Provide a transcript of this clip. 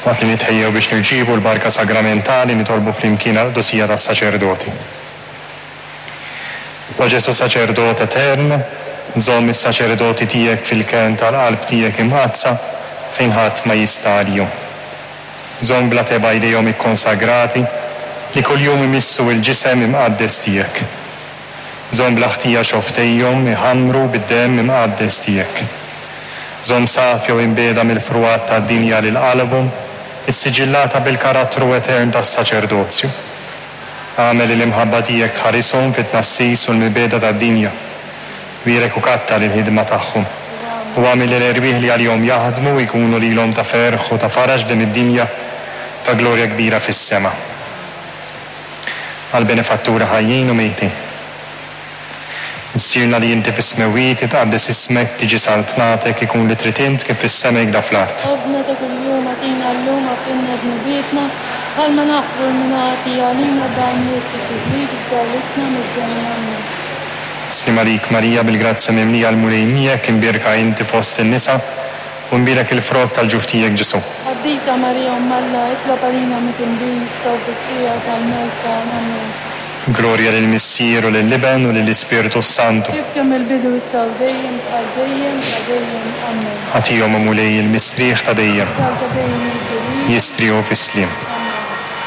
Waqt li nitħejjew biex nirċievu l-barka sagramentali nitolbu flimkien għall-qdusija tas-saċerdoti. O Ġesù Saċerdot etern, żomm is-saċerdoti tiegħek fil-kenn tal-qalb tiegħek imqaddsa fejn ħadd ma jista' għalihom. Żomm bla tebgħa jdejhom ikkonsagrati li kuljum imissu l-ġisem imqaddes tiegħek. Żomm bla ħtija xofftejhom iħammru bid-demm imqaddes tiegħek. Żomm safja u imbiegħda mill-frugħat tad-dinja lil qalbhom issiġillata bil-karattru etern tas-saċerdozju. Agħmel li l-imħabba tiegħek tħarishom fit-tnassis u l-mibegħda tad-dinja. Bierek u kattar il-ħidma tagħhom. U agħmel li l-erwieħ li għalihom jaħdmu jkunu lilhom ta' ferħ u ta' faraġ f'din id-dinja, u ta' glorja kbira fis-sema. Għall-benefatturi ħajjin u mejtin. Missierna li inti fis-smewwiet, jitqaddes ismek, tiġi saltnatek, ikun li trid int kif fis-sema hekda fl-art. Ħobżna ta' kuljum agħtina llum, agħfrilna dnubietna, bħalma naħfru 'l min hu ħati għalina, dgħalniex fit-tiġrib, iżda ħlisna mid-deni. Ammen. Sliem għalik Marija bil-grazzja mimlija l-Mulej miegħek, imbierka inti fost in-nisa, u mbierek il-frott tal-ġuf tiegħek Ġesù. Qaddisa Marija Omm Alla, itlob għalina midinbin issa u fis-siegħa tal-mewt tagħna. Ammen. Glorja lill-Missier u lill-Iben u lill-Ispirtu s-Santu. Kif kien mill-bidu issa u dejjem bħal dejjem ta' dejjem. Ammen. Agħtihom, o Mulej, il-mistrieħ ta' dejjem. Id-dawl ta' dejjem jiddi lilhom. Jistrieħu fis-sliem.